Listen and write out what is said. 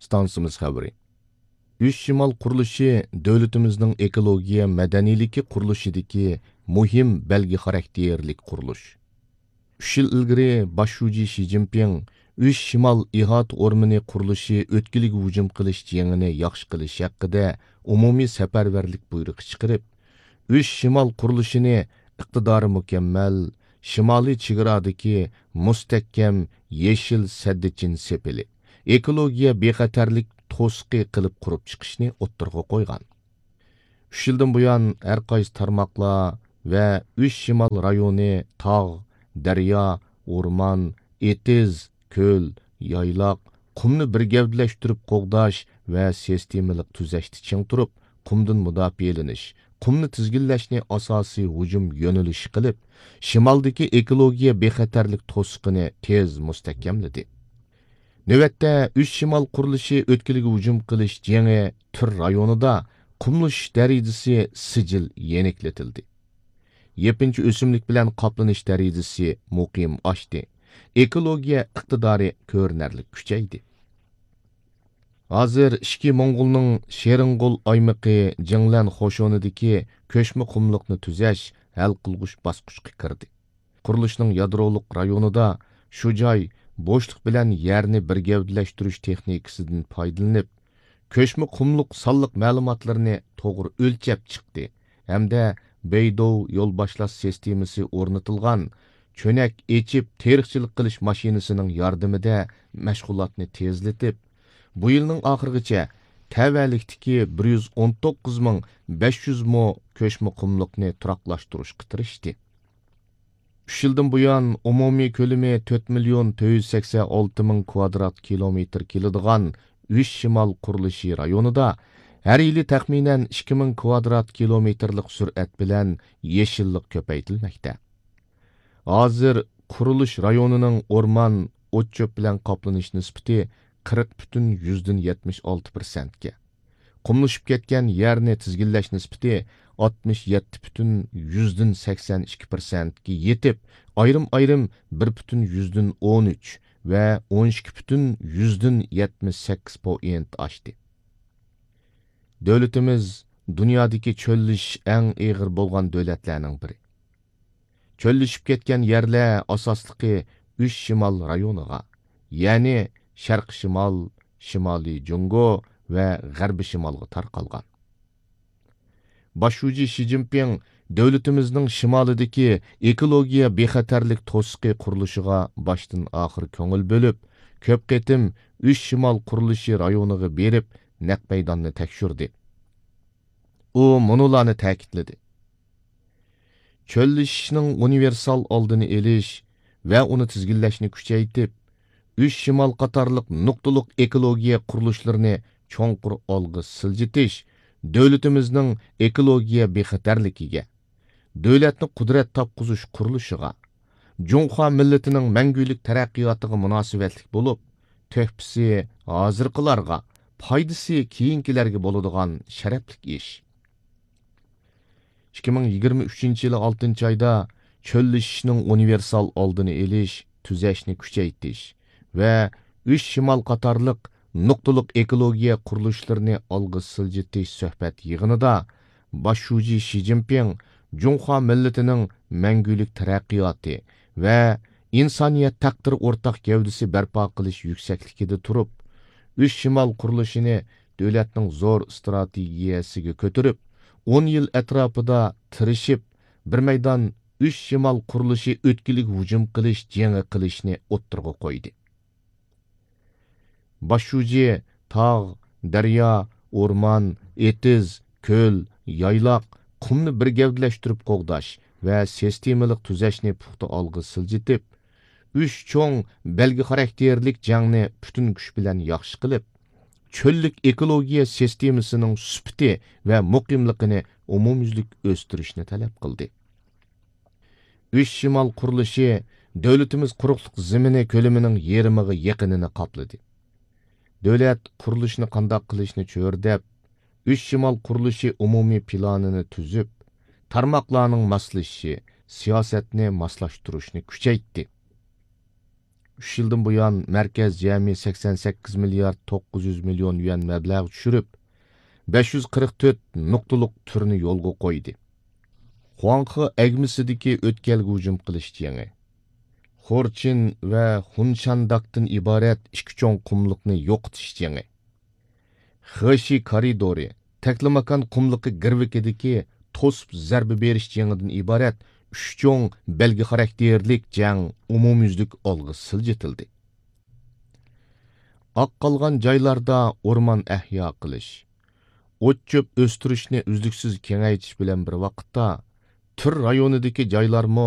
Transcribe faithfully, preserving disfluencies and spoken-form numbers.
ئىستانسىمىز خەۋىرى. ئۈچ شىمال قۇرۇلۇشى دۆلىتىمىزنىڭ ئېكولوگىيە مەدەنىيلىكى قۇرۇلۇشىدىكى مۇھىم بەلگە خاراكتېرلىك قۇرۇلۇش. ئۈچ يىل ئىلگىرى باش شۇجى شى جىنپىڭ ئۈچ شىمال ئىھاتە ئورمىنى قۇرۇلۇشى ئۆتكىلىگە ھۇجۇم قىلىش جېڭىنى ياخشى قىلىش ھەققىدە ئومۇمىي سەپەرۋەرلىك بۇيرۇقى چىقىرىپ، ئۈچ شىمال قۇرۇلۇشىنى ئىقتىدارى مۇكەممەل، شىمالىي چېگرادىكى مۇستەھكەم يېشىل سەددىچىن سېپىلى، ئېكولوگىيە بىخەتەرلىك توسۇقى قىلىپ قۇرۇپ چىقىشنى ئوتتۇرىغا قويغان. ئۈچ يىلدىن بۇيان، ھەر قايسى تارماقلار ۋە ئۈچ شىمال رايونى تاغ، دەريا، ئورمان، ئېتىز، كۆل، يايلاق، قۇمنى بىر گەۋدىلەشتۈرۈپ قوغداش ۋە سىستېمىلىق تۈزەشتە چىڭ تۇرۇپ، قۇمدىن مۇداپىئەلىنىش، قۇمنى تىزگىنلەشنى ئاساسىي ھۇجۇم يۆنىلىشى قىلىپ، شىمالدىكى ئېكولوگىيە بىخەتەرلىك توسۇقىنى تېز مۇستەھكەملىدى. نۆۋەتتە، ئۈچ شىمال قۇرۇلۇشى ئۆتكىلىگە ھۇجۇم قىلىش جېڭى تۈر رايونىدا قۇملىشىش دەرىجىسى سىجىل يېنىكلىتىلدى. يېپىنچا ئۆسۈملۈك بىلەن قاپلىنىش دەرىجىسى مۇقىم ئاشتى. ئېكولوگىيە ئىقتىدارى كۆرۈنەرلىك كۈچەيدى. ھازىر ئىچكى موڭغۇلنىڭ شېرىنغول ئايمىقى جىڭلەن قوشۇنىدىكى كۆچمە قۇملۇقنى تۈزەش ھەل قىلغۇچ باسقۇچقا كىردى. قۇرۇلۇشنىڭ يادرولۇق رايونىدا شۇ جاي بوشلۇق بىلەن يەرنى بىر گەۋدىلەشتۈرۈش تېخنىكىسىدىن پايدىلىنىپ، كۆچمە قۇملۇق سانلىق مەلۇماتلىرىنى توغرا ئۆلچەپ چىقتى ھەمدە بېيدوۋ يول باشلاش سىستېمىسى ئورنىتىلغان چۆنەك ئېچىپ تېرىقچىلىق قىلىش ماشىنىسىنىڭ ياردىمىدە مەشغۇلاتنى تېزلىتىپ، بۇ يىلنىڭ ئاخىرىغىچە تەۋەلىكتىكى بىر يۈز ئون توققۇز مىڭ بەش يۈز مو كۆچمە قۇملۇقنى تۇراقلاشتۇرۇشقا تىرىشتى. ئۈچ يىلدىن بۇيان، ئومۇمىي كۆلىمى تۆت مىليون تۆت يۈز سەكسەن ئالتە مىڭ كۋادرات كىلومېتىر كېلىدىغان ئۈچ شىمال قۇرۇلۇشى رايونىدا ھەر يىلى تەخمىنەن ئىككى مىڭ كۋادرات كىلومېتىرلىق سۈرئەت بىلەن يېشىللىق كۆپەيتىلمەكتە. ھازىر قۇرۇلۇش رايونىنىڭ ئورمان، ئوت-چۆپ بىلەن قاپلىنىش نىسبىتى قىرىق پۈتۈن يۈزدىن يەتمىش ئالتە پىرسەنتكە، قۇملىشىپ كەتكەن يەرنى تىزگىنلەش نىسبىتى ئاتمىش يەتتە پۈتۈن يۈزدىن سەكسەن ئىككى پىرسەنتكە يېتىپ، ئايرىم-ئايرىم بىر پۈتۈن يۈزدىن ئون ئۈچ ۋە ئون ئىككى پۈتۈن يۈزدىن يەتمىش سەككىز پوئىنت ئاشتى. دۆلىتىمىز دۇنيادىكى چۆللىشىش ئەڭ ئېغىر بولغان دۆلەتلەرنىڭ بىرى. چۆللىشىپ كەتكەن يەرلەر ئاساسلىقى ئۈچ شىمال رايونىغا، يەنى شەرقىي شىمال، شىمالىي جۇڭگو ۋە غەربىي شىمالغا تارقالغان. باش شۇجى شى جىنپىڭ دۆلىتىمىزنىڭ شىمالىدىكى ئېكولوگىيە بىخەتەرلىك توسۇقى قۇرۇلۇشىغا باشتىن ئاخىر كۆڭۈل بۆلۈپ، كۆپ قېتىم ئۈچ شىمال قۇرۇلۇشى رايونىغا بېرىپ، نەق مەيداننى تەكشۈردى. ئۇ مۇنۇلارنى تەكىتلىدى: چۆللىشىشنىڭ ئۇنىۋېرسال ئالدىنى ئېلىش ۋە ئۇنى تىزگىنلەشنى كۈچەيتىپ، ئۈچ شىمال قاتارلىق نۇقتىلىق ئېكولوگىيە قۇرۇلۇشلىرىنى چوڭقۇر ئالغا سىلجىتىش دۆلىتىمىزنىڭ ئېكولوگىيە بىخەتەرلىكىگە، دۆلەتنى قۇدرەت تاپقۇزۇش قۇرۇلۇشىغا، جۇڭخۇا مىللىتىنىڭ مەڭگۈلۈك تەرەققىياتىغا مۇناسىۋەتلىك بولۇپ، تۆھپىسى ھازىرقىلارغا، پايدىسى كېيىنكىلەرگە بولىدىغان شەرەپلىك ئىش. ئىككى مىڭ يىگىرمە ئۈچىنچى يىلى ئالتىنچى ئايدا چۆللىشىشنىڭ ئۇنىۋېرسال ئالدىنى ئېلىش، تۈزەشنى كۈچەيتىش ۋە ئۈچ شىمال قاتارلىق نۇقتىلىق ئېكولوگىيە قۇرۇلۇشلىرىنى ئالغا سىلجىتىش سۆھبەت يىغىنىدا باش شۇجى شى جىنپىڭ جۇڭخۇا مىللىتىنىڭ مەڭگۈلۈك تەرەققىياتى ۋە ئىنسانىيەت تەقدىرى ئورتاق گەۋدىسى بەرپا قىلىش يۈكسەكلىكىدە تۇرۇپ، ئۈچ شىمال قۇرۇلۇشىنى دۆلەتنىڭ زور ئىستراتېگىيەسىگە كۆتۈرۈپ، ئون يىل ئەتراپىدا تىرىشىپ، بىر مەيدان ئۈچ شىمال قۇرۇلۇشى ئۆتكىلىگە ھۇجۇم قىلىش جېڭى قىلىشنى ئوتتۇرىغا قويدى. باش شۇجى تاغ، دەريا، ئورمان، ئېتىز، كۆل، يايلاق، قۇمنى بىر گەۋدىلەشتۈرۈپ قوغداش ۋە سىستېمىلىق تۈزەشنى پۇختا ئالغا سىلجىتىپ، ئۈچ چوڭ بەلگە خاراكتېرلىك جەڭنى پۈتۈن كۈچ بىلەن ياخشى قىلىپ، چۆللۈك ئېكولوگىيە سىستېمىسىنىڭ سۈپىتى ۋە مۇقىملىقىنى ئومۇميۈزلۈك ئۆستۈرۈشنى تەلەپ قىلدى. ئۈچ شىمال قۇرۇلۇشى دۆلىتىمىز قۇرۇقلۇق زېمىنى كۆلىمىنىڭ يېرىمىغا يېقىنىنى قاپلىدى. دۆلەت قۇرۇلۇشنى قانداق قىلىشنى چۆرىدەپ، ئۈچ شىمال قۇرۇلۇشى ئومۇمىي پىلانىنى تۈزۈپ، تارماقلارنىڭ ماسلىشىشى، سىياسەتنى ماسلاشتۇرۇشنى كۈچەيتتى. ئۈچ يىلدىن بۇيان مەركەز جەمئىي سەكسەن سەككىز مىليارد توققۇز يۈز مىليون يۈەن مەبلەغ چۈشۈرۈپ، بەش يۈز قىرىق تۆت نۇقتىلىق تۈرنى يولغا قويدى. خۇاڭخې ئەگمىسىدىكى ئۆتكەلگە ھۇجۇم قىلىش جېڭى، خورچىن ۋە خۇنشانداكتىن ئىبارەت ئىككى چوڭ قۇملۇقنى يوقىتىش جېڭى، خېشى كارىدورى، تەكلىماكان قۇملۇقى گىرۋىكىدىكى توسۇپ زەربە بېرىش جېڭىدىن ئىبارەت ئۈچ چوڭ بەلگە خاراكتېرلىك جەڭ ئومۇميۈزلۈك ئالغا سىلجىتىلدى. ئاق قالغان جايلاردا ئورمان ئەھيا قىلىش، ئوت-چۆپ ئۆستۈرۈشنى ئۈزلۈكسىز كېڭەيتىش بىلەن بىر ۋاقىتتا، تۈر رايونىدىكى جايلارمۇ